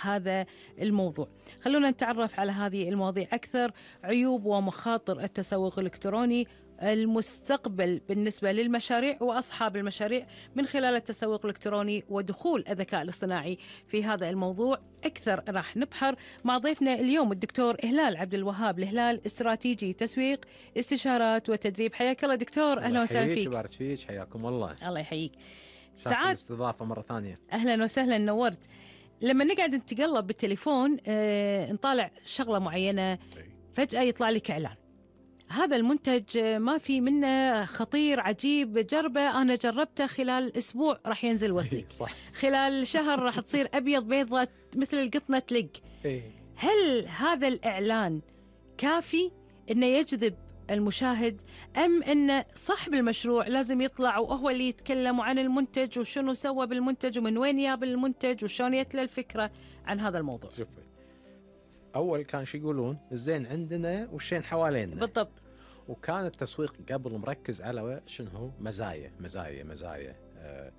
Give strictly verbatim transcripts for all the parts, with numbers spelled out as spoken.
هذا الموضوع. خلونا نتعرف على هذه المواضيع أكثر. عيوب ومخاطر التسوق الإلكتروني، المستقبل بالنسبة للمشاريع وأصحاب المشاريع من خلال التسوق الإلكتروني ودخول الذكاء الاصطناعي في هذا الموضوع أكثر. راح نبحر مع ضيفنا اليوم الدكتور إهلال عبد الوهاب الهلال، استراتيجي تسويق، استشارات وتدريب. حياك الله دكتور، أهلا وسهلا فيك. بارك فيك، حياكم الله. الله يحييك. سعاد الاستضافة مرة ثانية. أهلا وسهلا، نورت. لما نقعد نتقلب بالتليفون اه نطالع شغلة معينة، فجأة يطلع لك إعلان، هذا المنتج ما في منه، خطير عجيب، جربه، أنا جربته، خلال أسبوع راح ينزل وزنك، صح. خلال شهر راح تصير أبيض بيضة مثل القطنة تلق. هل هذا الإعلان كافي إنه يجذب المشاهد، أم أن صاحب المشروع لازم يطلع وهو اللي يتكلم عن المنتج وشنو سوى بالمنتج ومن وين جاب المنتج وشون يتلى الفكرة عن هذا الموضوع؟ شوفي، أول كان شو يقولون الزين عندنا والشين حوالينا. بالضبط. وكان التسويق قبل مركز على شنو هو مزايا مزايا مزايا آه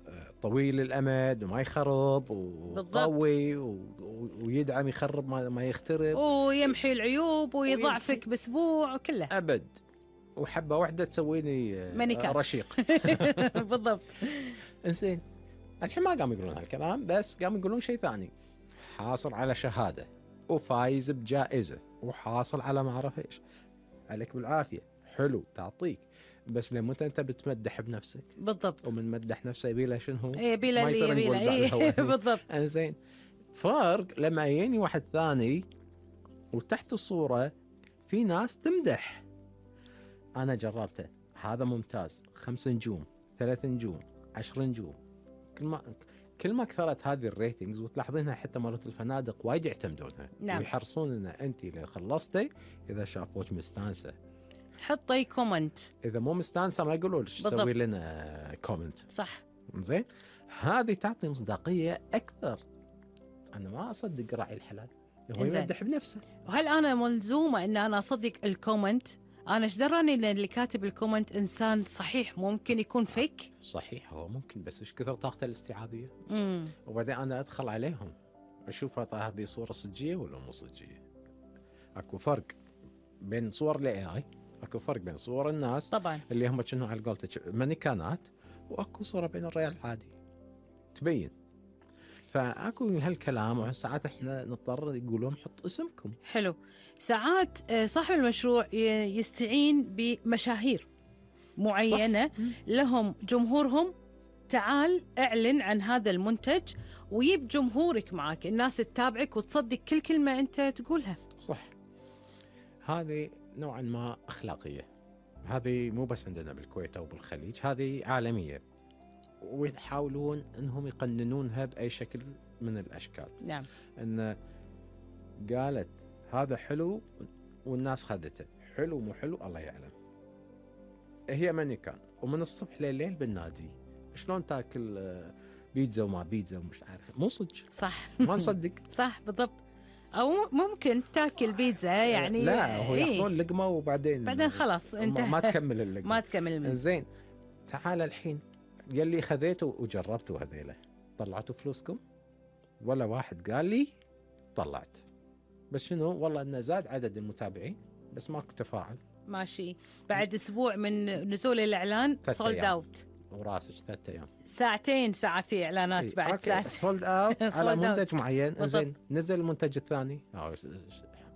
آه طويل الأمد وما يخرب وقوي ويدعم يخرب ما, ما يخترب ويمحي العيوب ويضعفك بأسبوع وكله أبد، وحبة واحدة تسويني آه رشيق. بالضبط. إنزين الحين ما قام يقولون هالكلام، بس قام يقولون شيء ثاني، حاصل على شهادة وفايز بجائزة وحاصل على ما أعرف إيش، عليك بالعافية، حلو تعطيك، بس لما أنت بتمدح بنفسك. بالضبط. ومن مدح نفسه يبيله شنو هو؟ إيه بيله اللي يبيله. إيه بالضبط. إنزين فرق لما يجيني واحد ثاني وتحت الصورة في ناس تمدح، أنا جربته، هذا ممتاز، خمس نجوم، ثلاث نجوم، عشر نجوم، كل ما كل ما كثرت هذه الريتنجز، وتلاحظينها حتى مرات الفنادق وايد يعتمدونها. نعم. ويحرصون ان انت اللي خلصتي اذا شافوك مستانسه حطي كومنت، اذا مو مستانسه ما يقولوا لك سوي لنا كومنت. صح. زين، هذه تعطي مصداقيه اكثر. انا ما اصدق راعي الحلال هو يمدح بنفسه. وهل انا ملزومه ان انا اصدق الكومنت؟ انا ايش دراني ان اللي كاتب الكومنت انسان صحيح؟ ممكن يكون فيك. صحيح هو ممكن، بس ايش كثر طاقته الاستيعابيه. امم وبعدين انا ادخل عليهم اشوف هذه صوره صجيه ولا مو صجيه. اكو فرق بين صور الاي اي، اكو فرق بين صور الناس طبعا اللي هم كانوا على قولتك مانيكانات، واكو صوره بين الريال العادي تبين. فاكو هالكلام، وساعات احنا نضطر يقولون حط اسمكم. حلو. ساعات صاحب المشروع يستعين بمشاهير معينة، صح. لهم جمهورهم، تعال اعلن عن هذا المنتج ويب جمهورك معك، الناس تتابعك وتصدق كل كلمة انت تقولها. صح. هذه نوعا ما اخلاقية، هذه مو بس عندنا بالكويت او بالخليج، هذه عالمية، ويحاولون انهم يقننونها باي شكل من الاشكال. نعم. ان قالت هذا حلو والناس خذته، حلو مو حلو الله يعلم. هي مانيكان ومن الصبح لليل بالنادي، شلون تاكل بيتزا وما بيتزا ومش عارف، مو صدق. صح. ما نصدق. صح بالضبط. او ممكن تاكل بيتزا يعني، لا هو ياخذون لقمه وبعدين بعدين خلاص انت ما تكمل اللقمه. ما تكمل المنزل. زين، تعال الحين يلي خذيته وجربته هذيله، طلعتوا فلوسكم؟ ولا واحد قال لي طلعت، بس شنو والله انه زاد عدد المتابعين بس ماكو تفاعل. ماشي. بعد اسبوع من نزول الاعلان سولد اوت وراسك ثلاثة ايام، ساعتين ساعات في اعلانات. إيه؟ بعد ساعات سولد اوت على منتج معين. زين نزل المنتج الثاني،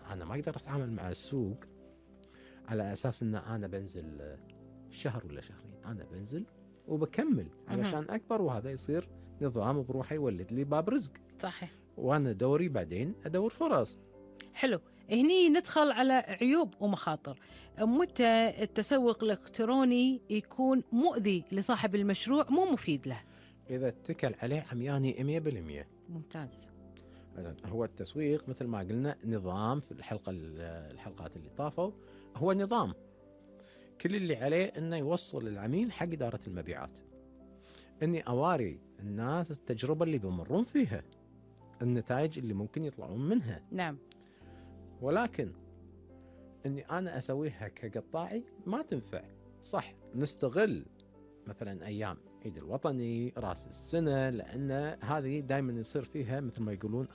انا ما اقدر اتعامل مع السوق على اساس ان انا بنزل شهر ولا شهرين، انا بنزل وبكمل علشان اكبر، وهذا يصير نظام بروحه يولد لي باب رزق. صحيح. وانا دوري بعدين ادور فرص. حلو. هني ندخل على عيوب ومخاطر. متى التسوق الإلكتروني يكون مؤذي لصاحب المشروع، مو مفيد له؟ إذا اتكل عليه عمياني مية بالمية. ممتاز. هو التسويق مثل ما قلنا نظام، في الحلقة الحلقات اللي طافوا هو نظام كل اللي عليه انه يوصل العميل حق إدارة المبيعات، اني اواري الناس التجربة اللي بمرون فيها، النتائج اللي ممكن يطلعون منها. نعم. ولكن اني انا اسويها كقطاعي ما تنفع. صح نستغل مثلا ايام العيد الوطني، راس السنة، لأن هذه دائما يصير فيها مثل ما يقولون